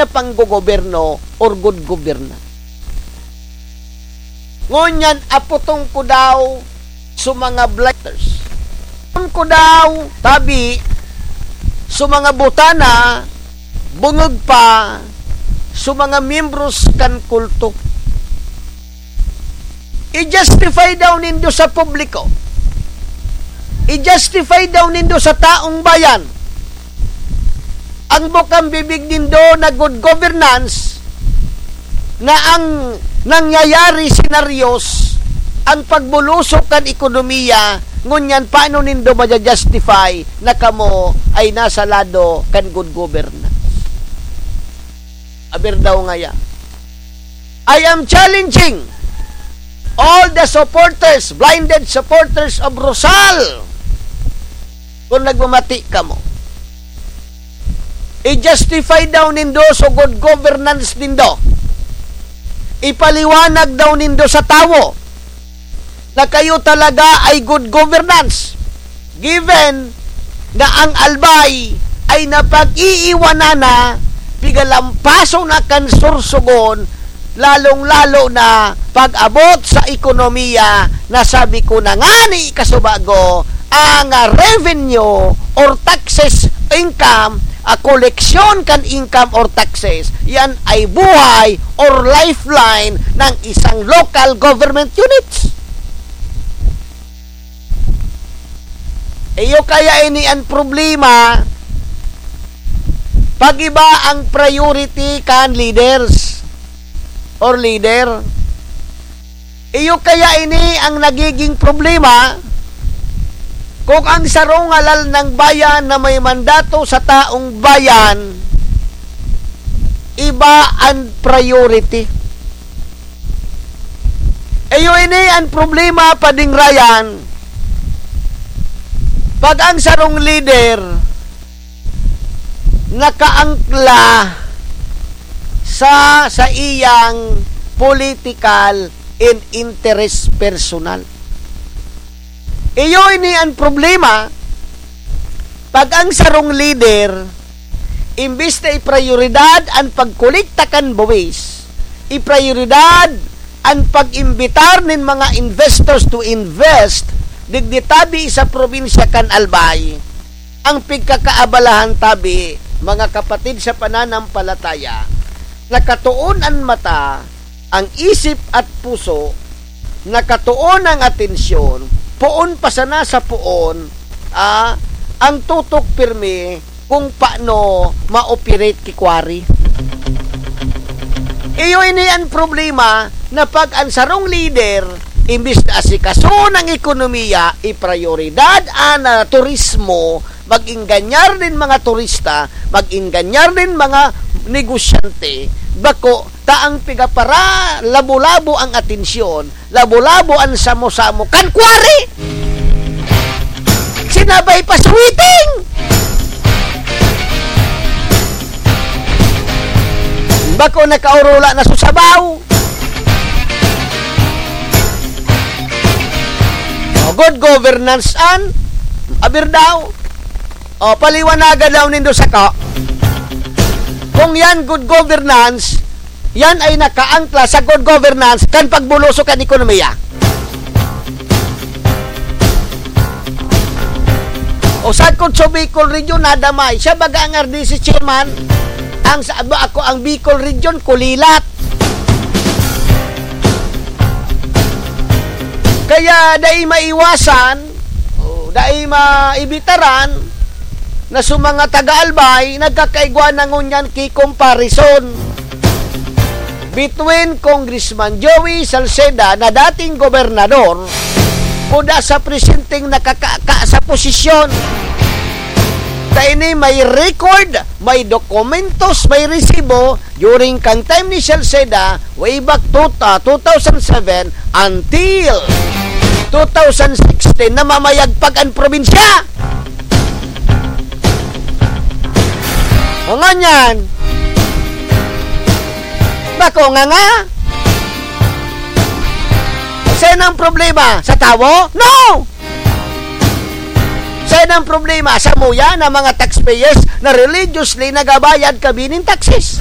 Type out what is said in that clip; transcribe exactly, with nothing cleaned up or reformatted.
na panggogoberno or good governance. Ngunyan, aputong ko daw sa mga blighters. Aputong ko daw, tabi, sa mga butana, bungog pa, sa mga miyembros kan kulto. I-justify daw nindo sa publiko. I-justify daw nindo sa taong bayan ang bukang bibig nindo na good governance na ang nangyayari senaryos, ang pagbulusok kan ekonomiya, ngunyan paano nindo maja-justify na kamo ay nasa lado kan good governance? Aber daw ngaya. I am challenging all the supporters, blinded supporters of Rosal. Kung nagmamati kamo, i-justify daw nindo so good governance nindo. Ipaliwanag daw nindo sa tawo na kayo talaga ay good governance, given na ang Albay ay napag-iiwanan na, pigalampaso na kan Sorsogon, lalong-lalo na pag-abot sa ekonomiya na sabi ko na ngani kasubago, ang, ah, revenue or taxes income, ah, koleksyon kan income or taxes, yan ay buhay or lifeline ng isang local government units. Iyo kaya ini an problema pag iba ang priority kan leaders or leader. Iyo kaya ini ang nagiging problema kung ang sarong halal ng bayan na may mandato sa taong bayan, iba ang priority. Iyo ini ang problema, Pading Ryan. Pag ang sarong leader nakaangkla sa, sa iyang political and interest personal. Iyo ini ang problema, pag ang sarong leader, imbis na iprioridad an pagkolekta kan buwis, iprioridad an pag-imbitar nin mga investors to invest digdi tabi sa probinsya kan Albay. Ang pigkakaabalahan tabi, mga kapatid sa pananampalataya, nakatoon an mata, ang isip at puso, nakatoon ang atensyon, poon pa sana sa poon, ah, ang tutok pirmi kung paano ma-operate ki quarry. Iyo ini an problema na pag an sarong leader, imbis na asikasoon ang ekonomiya, iprioridad an, ah, turismo, mag-engañar nin mga turista, mag-engañar nin mga negosyante, bako ta ang pigapara labo-labo ang atensyon, labo-labo an samo-samo kan quarry. Sinabay pa sweating! Bako nakaurula na sa sabaw. O, good governance an aber daw. O, paliwanagan daw nindo sako. Kung yan good governance, yan ay nakaangkla sa good governance kan pagbulusok kan ekonomiya. O, sagkod sa Bicol Region, nadamay. Siya baga ang R D C chairman, ang sa, ako ang Bicol Region, kulilat. Kaya dai maiwasan, o, dai maibitaran na sa mga taga-Albay, nagkakaigwa na ngunyan ki comparison between Congressman Joey Salceda na dating gobernador kuda sa presenteng nakakaka sa posisyon. Ta ini may record, may dokumentos, may resibo, during kan time ni Salceda, way back to, ah, two thousand seven until two thousand sixteen, namamayagpag an probinsya. O ngunyan, bako nganga. Saan ang problema? Sa tawo? No! Saan ang problema? Sa muya na mga taxpayers na religiously nagabayad kami nin taxes.